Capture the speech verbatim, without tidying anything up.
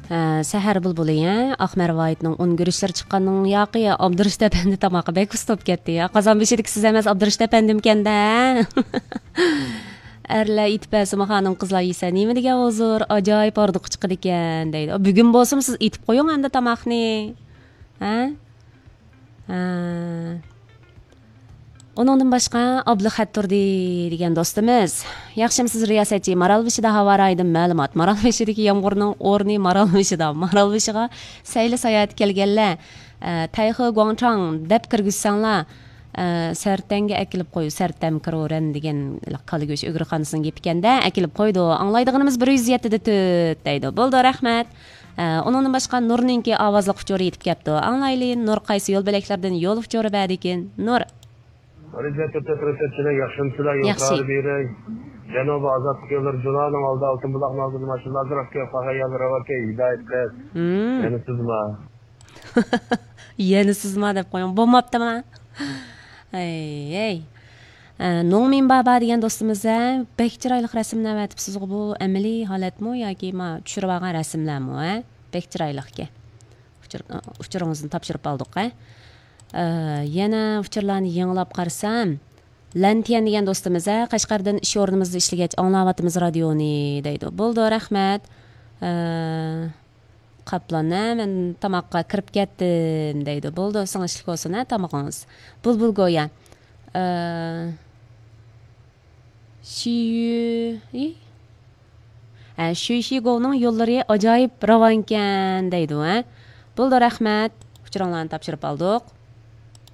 ھە، سەھەر بۇلبۇلى، ھە؟ ئاق مەرۋايىتنىڭ ئۇن گۈرۈچلىرى چىققاننىڭ ياقى ئابدۇرېشىت ئەپەندى تاماققا بەك ئۇستا بولۇپ كەتتى. يا، قازان بېشىدىكى سىز ئەمەس، ئابدۇرېشىت ئەپەندىمكەن-دە. ئەرلەر ئېتىپ بەرسىمۇ خانىم قىزلار يېسە نېمە دېگەن ھۇزۇر، ئاجايىپ ھاردۇقى چىقىدىكەن دەيدۇ. بۈگۈن بولسىمۇ سىز ئېتىپ قويۇڭ ئەمدى تاماقنى. ھە؟ ھە. ئۇنىڭدىن باشقا ئابلىخەت تۇردى دېگەن دوستىمىز. ياخشىمۇسىز رىياسەتچى؟ مارالبېشىدا ھاۋا رايىدىن مەلۇمات. مارالبېشىدىكى يامغۇرنىڭ ئورنى مارالبېشىدا. مارالبېشىغا سەيلە ساياھەتكە كەلگەنلەر، ئە، تەيخې گۇاڭچاڭ دەپ كىرگۈزسەڭلار، ئە، سەرتەڭگە ئەكېلىپ قوي، سەرتەم كىرورەن دېگەن كالا گۆش ئۆگرىخانىسىنىڭ گېپىكەن-دە، ئەكېلىپ قويدۇ. ئاڭلايدىغىنىمىز بىر يۈز يەتتىدە تۆت دەيدۇ. بولىدۇ، رەھمەت. ئە، ئۇنىڭدىن باشقا نۇرنىڭكى ئاۋازلىق ئۇچۇرى يېتىپ كەپتۇ. ئاڭلايلى، نۇر قايسى يول بۆلەكلەردىن يول ئۇچۇرى بەردىكىن؟ نۇر. رىزۋەت تۆتەر تۆتەر، ياخشىمۇسىلەر؟ ياخشى. يۇقىرى بېرەي. جەنۇبىي ئازادلىق يوللىرى، جۇلانىڭ ئالدى، ئالتۇن بۇلاقنىڭ ئالدىدا ماشىنىلار ئازراق كەپ قالغان يەرلەر باركەن، ھىدايەت قىل. مم. يەنە سىزما. يەنە سىزما دەپ قويۇڭ. بولماپتىما؟ ھەي، ھەي. ئە، نوڭمىن بابا دېگەن دوستىمىز، ھە، بەك چىرايلىق رەسىملەر ئەۋەتىپسىزغۇ، بۇ ئەمەلىي ھالەتمۇ ياكى ما چۈشۈرۈۋالغان رەسىملەرمۇ، ھە؟ بەك چىرايلىقكەن. ئۇچۇر-، ئۇچۇرىڭىزنى تاپشۇرۇپ ئالدۇق، ھە؟ ئە، يەنە ئۇچۇرلارنى يېڭىلاپ قارىسام، لەنتيەن دېگەن دوستىمىز، ھە، قەشقەردىن ئىش ئورنىمىزدا ئىشلىگەچ ئاڭلاۋاتىمىز رادىيونى دەيدۇ. بولىدۇ، رەھمەت. ئە، قاپلان، ھە، مەن تاماققا كىرىپ كەتتىم دەيدۇ. بولىدۇ، سىڭىشلىك بولسۇن، ھە، تامىقىڭىز. بۇلبۇل گويا. ئە، شىيۈ، ئى؟ ھە، شۈيشىگوۋنىڭ يوللىرى ئاجايىپ راۋانكەن دەيدۇ، ھە. بولىدۇ، رەھمەت. ئۇچۇرۇڭلارنى تاپشۇرۇپ ئالدۇق.